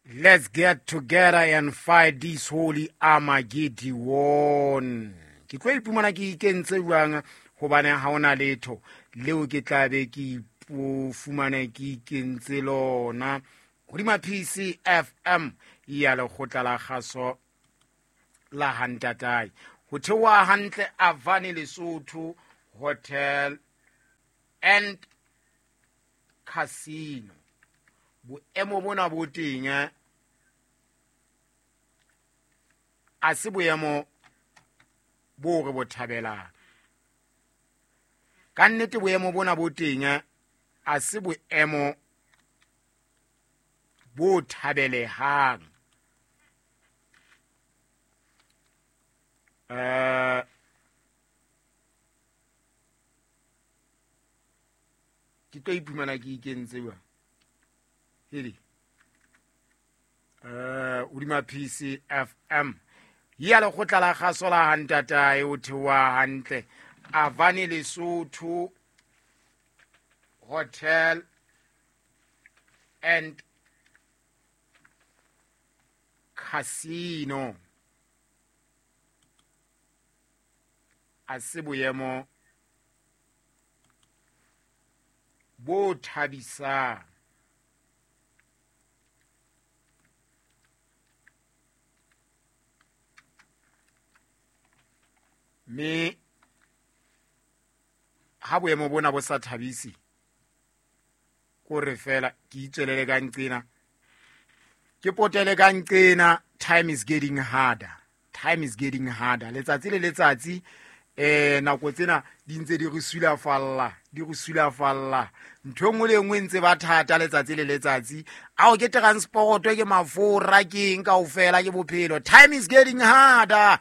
Let's get together and fight this holy Armageddon. Ke tlo ipumana ke ikentse jwang hobane ha ona letho leo ke tla be ke fumane ke ikentse lona hodima PCFM ya lekgotla la kgaso la hantatae ho theoha hantle Avani Lesotho Hotel and Casino. Boemo bona bo teng a se boemo bo re bo thabelang. Ka nnete boemo bona bo teng a se boemo bo thabelehang. Ke tlo iphumana ke ikentse jwang hedi hodima PCFM ya lekgotla la kgaso la hantatae o theoha hantle Avani Lesotho Hotel and Casino. A se boemo bo thabisang. Mme ha boemo bona bo sa thabise, kore fela ke itswelele ka nqena, ke potele ka nqena. Time is getting harder, time is getting harder. Letsatsi le letsatsi nako tsena di ntse di re sulafalla, di re sulafalla. Ntho e nngwe le e nngwe e ntse ba thata letsatsi le letsatsi. Ao ke transport, ke mafura, ke eng kaofela, ke bophelo. Time is getting harder.